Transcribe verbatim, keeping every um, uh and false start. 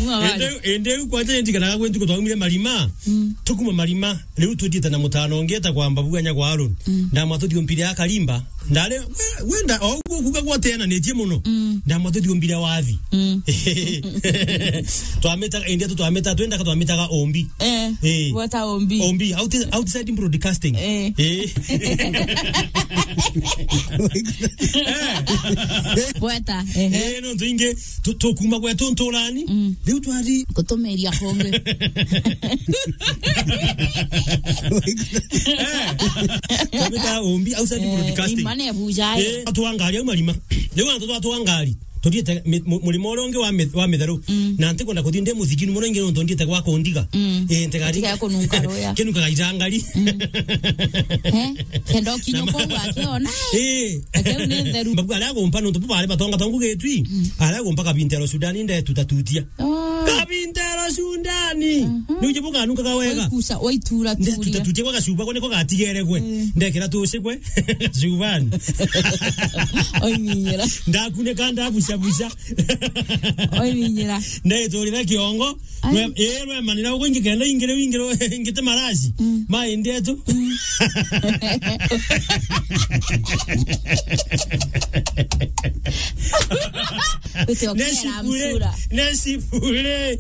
Ende, ende u kwanja ndiganaga gwe ntuku twaumire Marima. Mm. Tukuma Marima, riu tuthiite na mutano ungi etagwa Mbabu anya gwa Aaron. Mm. Ndamwa tuthiombire akarimba. Ndare, we, wenda, o guo kuga gwateananitie muno. Mm. Ndamwa tuthiombire wathi. Mm. Twamitaga, indi tu twamitaga, twendaga twamitaga ombi. Eh, eh. Gweta ombi. Ombi, outi-, outside broadcasting. Eh. Eh. Gweta, ehe. Eh, no, ntu ingi, tu-, tukuma gwetu nturani. Mm. Riu twari gutumiria kungi. Eh. Twamitaga ombi, outside broadcasting. Eh, imane bujae. Eh, atwangari au Marima. Riu antu twatwangari. Tuthiite mi-, mu-, murimo uria ungi wa mi-, wa mitheru. Mm. Na ntikwenda kuthii ndi muthiginu muno ingi nontu nthiite gwa kundiga. Mm. Eh, ntigari. Tiga kununka ruya. Kinukaga itangari. Mm. Eh? Kenda ukinya kuu akiona. Eh. Akeu ni ntheru. Mbabu aria agumpa nontu bo bari batonga tongu gitwi. Mm. Aria agumpa kabintero Sudani ndetu tatutia. Oh. Kabintero Sudani. Mhm. Ni uje bukanunkaga wega. Waikusa, waitura turia. Ndetu tatutia kwa gacuba, kwa niko gatigere gwe. Mm. Ndekira tucigwe. Gacubani. Oiminyira. Ndakuneka ndabucabuca. Oiminyira. Ndeturira kiongo. Ai. Rwe-, eh, rwemanira ugu ingi kenda ingire ingire ingite maraci. Mm. Ma indetu. Mm. Uti okera. Nesipure, msura. Nesipure.